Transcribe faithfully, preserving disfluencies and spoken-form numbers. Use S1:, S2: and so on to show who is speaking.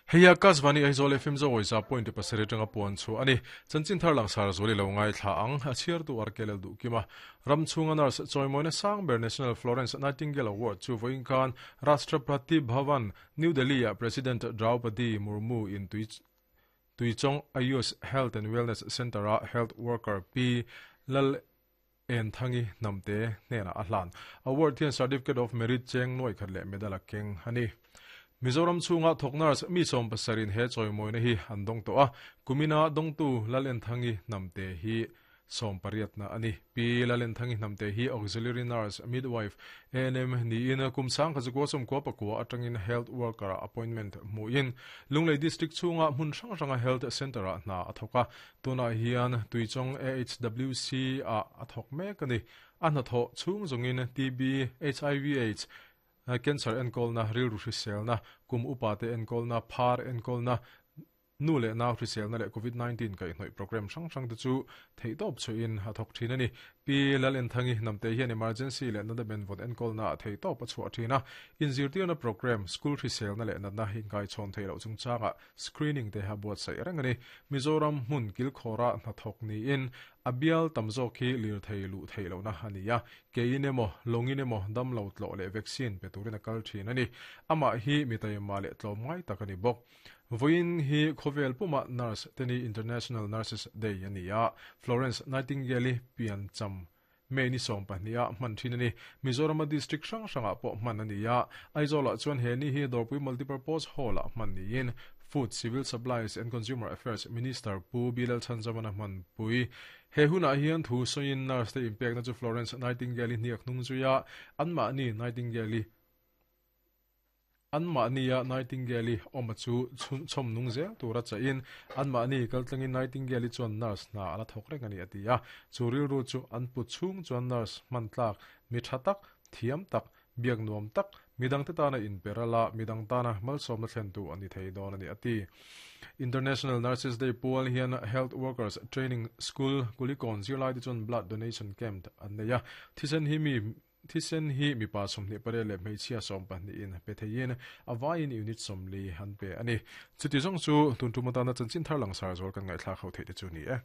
S1: Heia Kasvani Aizawl F M zo za point pasarih atanga puan chu ani chanchin thar lang sar zoli lo ngai thla ang a chhiar tu arkelel du kima ramchunga nurse choimoina sangber National Florence Nightingale Award chu voinkan Rashtrapati Bhavan New Delhi a President Draupadi Murmu in tui Tuichong Ayush Health and Wellness Center a health worker P Lal En Thangi Namte nena ahlan award hian certificate of merit cheng noi khatle medal a keng ani Mizoram chunga thoknars mi som pasarin he choimoina hi andong to a kumina dongtu Lalen Thangi Namte hi som pariat na ani P Lalen Thangi Namte hi auxiliary nurse midwife A N M ni in kumsang khazuko som ko pakwa atangin health worker appointment muin Lunglei district chunga mun sang sanga health center a na athoka tuna hian Tuichong A H W C a athok mek ani anna tho chung zongin T B H I V AIDS cancer enkol na ril ru hrisel na kum upa te enkol na phar enkol na nu le na hrisel na le covid nineteen kai hnoi program sang sang te chu theitop chu in ha thok thin ani P Lalen Thangi Namte hian emergency le na da ben vot enkol na theitop a chu thina in zirtir na program school hrisel na le na na hingai chon theilo chung changa screening te ha buat sai rang ani Mizoram mun kil khora na thok ni in abial tamzo khi lir theilu theilo na hania keinemo longinemo damlo tlo le vaccine peturina kal thin ani ama hi mitaima le tlomngai takani bok voin hi khovel puma nurse teni International Nurses Day ania Florence Nightingale pian cham meni som pahnia man thin ani Mizoram district sang sanga po man ania Aizawl chuan he ni hi Dorpui multipurpose hall a man ni in Food Civil Supplies and Consumer Affairs Minister Pu Bilal Chanjamana man pui he huna hian thu soin nurse te impact na chu Florence Nightingale niak nung zuya anma ni Nightingale anma nia Nightingale oma chu chom nung zel tura cha in anma ni kaltlangin Nightingale chuan nurse na ala thok reng ani atia churil ru chu an pu chung chuan nurse mantlak mi thatak thiam tak biak nuam tak midang te tana in perala midang tana malsom na thlen tu ani thei don ani ati International Nurses Day pual hian Health Workers Training School Kulikon zirlai te chuan blood donation camp an neia thisen hi mi thisen hi mi pa somni pare le hmeichhia som pahnih in pe theiin awain unit somli han pe ani chuti zawng chu tun tum atana chanchin thar lang sar zawr kan ngaithla kho thei te chu ni e.